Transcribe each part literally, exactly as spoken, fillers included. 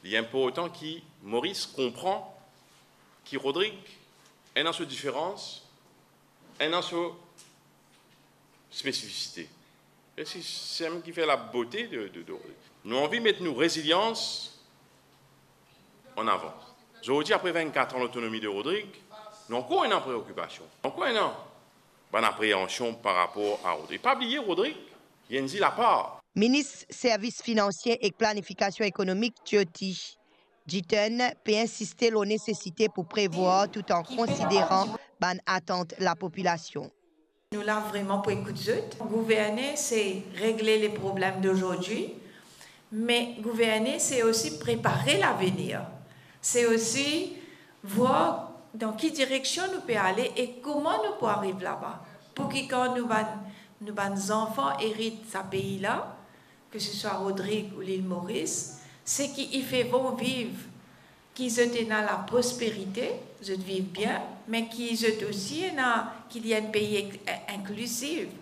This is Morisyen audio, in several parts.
Li inportan ki Moris konpran ki Rodrig ena so diferans, ena so spesifisite. E se, se sa ki fer labote de, de, de Rodrig. Nou anvi met nou rezilians an avan. Zordi, apre vennkat an lotonomi de Rodrig, nou ankor ena preokipasion, ankor ena bann apreansion par rapor a Rodrig. Pa bliye, Rodrig, li enn zil apar. Minis Servis Finansie ek Planifikasion Ekonomik Jyoti Jitan pe insiste lor nesesite pou prevwar tout an konsideran bann atant lapopilasion. Nou la vreman pou ekout zot. Gouverne, se regle le problem d'aujourd'hui, me gouverne, se osi prepare lavenir. Se osi vwar dan ki direksion nou pe ale e kouma nou pou ariv laba. Pou ki kan nou bann, nou bann zanfan erit sa pei la, ke se swa Rodrig ou Lil Moris, seki i fer bon viv, ki zot ena laprosperite, zot viv bien, me ki zot osi ena, ki li enn pei ex-, in-, inklizif.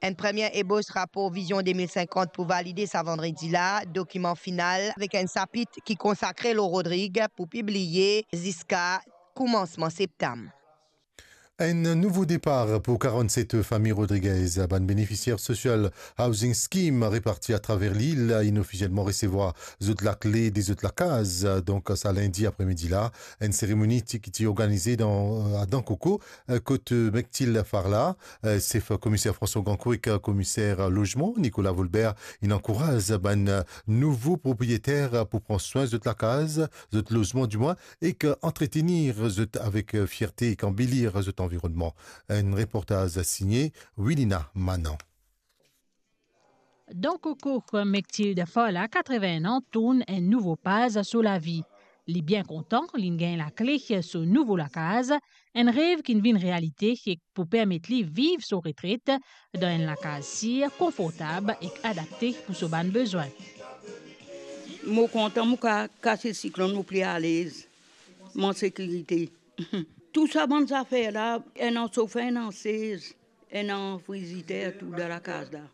Enn premie ebos rapor Vizion de mil sinkant pou valide sa vandredi la, dokiman final avek enn sapit ki konsakre lor Rodrig pou pibliye ziska koumansman septam. Enn nouvo depar pou karannset fami Rodriguez. Bann benefisier Social Housing Scheme reparti atraver lil inn ofisielman resevwar zot lakle de zot lakaz. Donk, sa lindi apremidi la, enn seremoni ti, ki ti organize dan, a Dankoko, kot Mektil Farla, sef komiser François Grandcourt ek komiser lozman Nicolas Volbert, inn ankouraz bann nouvo propriyeter pou pran swin zot lakaz, zot lozman dimwin, ek antretenir zot avek fierte ek anbelir zot anvironnman. Enn reportaz signe Wilina Manan. Dankoko, Mektil Farla, katreven-enn an, tourn enn nouvo paz so lavi. Li bien kontan, li'nn gagn lakle so nouvo lakaz, enn rev ki'nn vinn realite ek pou permet li viv so retret dan enn lakaz sir, konfortab ek adapte pou so bann bezwin. Mo kontan, mo ka kas siklonn, mo pli alez, mo an sekirite. Tou sa bann zafer la, ena sofer, ena sez, ena friziter, tou dan lakaz la.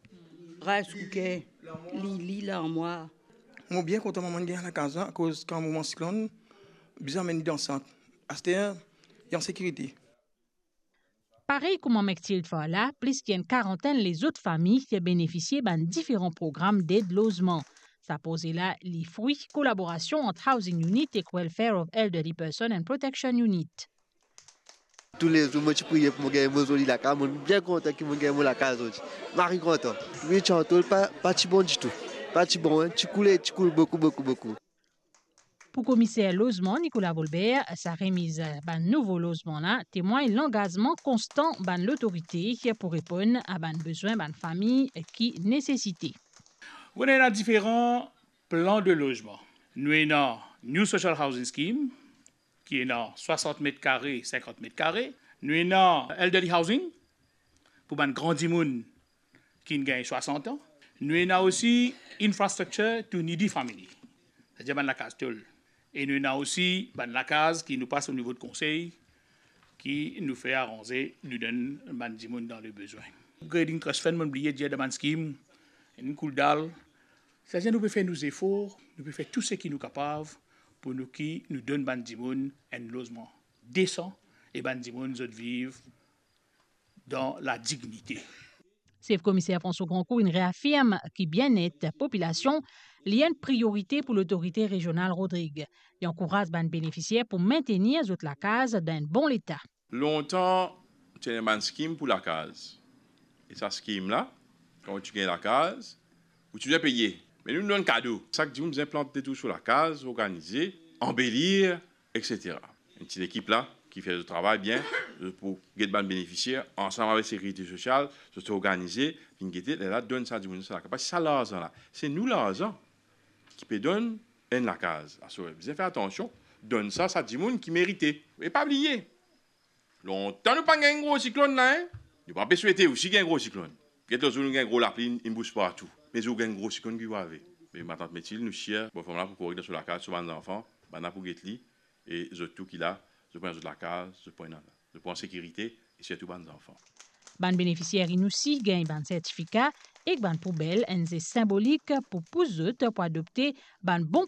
Rice cooker, lili, larmwar. Mo bien kontan mwa mo'nn gagn lakaz la, akoz kan moman siklonn, bizin amenn li dan sant. Aster, li an sekirite. Parey kouma Mektil Farla, plis ki enn karantenn lezot fami benefisie bann diferan program ded lozman. Sa proze la, li frwi kolaborasion ant Housing Unit ek Welfare of Elderly Person and Protection Unit. Toulezour mo ti priye pou mo gagn mo zoli lakaz, mo bien kontan ki mo gagn mo lakaz zordi. Mari kontan. Wi, ti antol pa, pa ti bon ditou. Pa ti bon, en. Ti koule, ti koul boukou, boukou, boukou. Pou komiser lozman Nicolas Volbert, sa remiz bann nouvo lozman la temwagn langazman konstan bann lotorite pou reponn a bann bezwin bann fami ki nesesite. Nou ena diferan plan de lozman. Nou ena New Social Housing Scheme, ki ena swasant met kare, sinkant met kare. Nou ena elderly housing, pou bann gran dimoun ki'nn gagn swasant an. Nou ena osi infrastructure to needy family, setadir bann lakaz tol. E nou ena osi bann lakaz ki nou pas o nivo de konsey, ki nou fer aranze, nou donn bann dimoun dan le bezwin. Upgrading Trust Fund, mo'nn bliye dir dan bann skim, enn koul dal. Setadir nou pe fer nou zefor, nou pe fer tou seki nou kapav pou nou ki nou donn bann dimoun enn lozman desan e bann dimoun zot viv dan ladignite. Sef komiser François Grandcourt inn reafirm ki bienet popilasion li enn priorite pou lotorite rezional Rodrig. Li ankouraz bann benefisier pou mintenir zot lakaz dan enn bon leta. Lontan, ti ena bann skim pou lakaz. E sa skim la, kan ou ti gagn lakaz, ou ti bizin peye. Me nou, nou donn kado. Sak dimoun bizin plant de tou so lakaz, organize, anbelir, et cetera. Enn ti lekip la ki fer zot travay bien, zot pou get bann benefisier, ansam avek Sekirite Sosial, zot organize, vinn gete, lerla donn sa dimoun sa lakaz. Parski sa larzan la, se nou larzan ki pe donn enn lakaz. Aster, bizin fer atansion, donn sa, sa dimoun ki merite. E pa bliye, lontan nou pa gagn gro siklonn la, en? Nou pa pe swete osi gagn gro siklonn. Get lot zour nou gagn gro lapli, inn bous partou. Me zour gagn gro siklonn, ki pou arive? Me matant Metil, nou sir, bofanm la pou korek dan so lakaz, so bann zanfan, bann la pou get li, e zot tou ki la, zot pou ena zot lakaz, zot pou ena, zot pou an sekirite, e sirtou bann zanfan. Bann benefisier inn osi gagn bann sertifika ek bann poubel, enn zes sinbolik pou pous zot pou adopte bann bon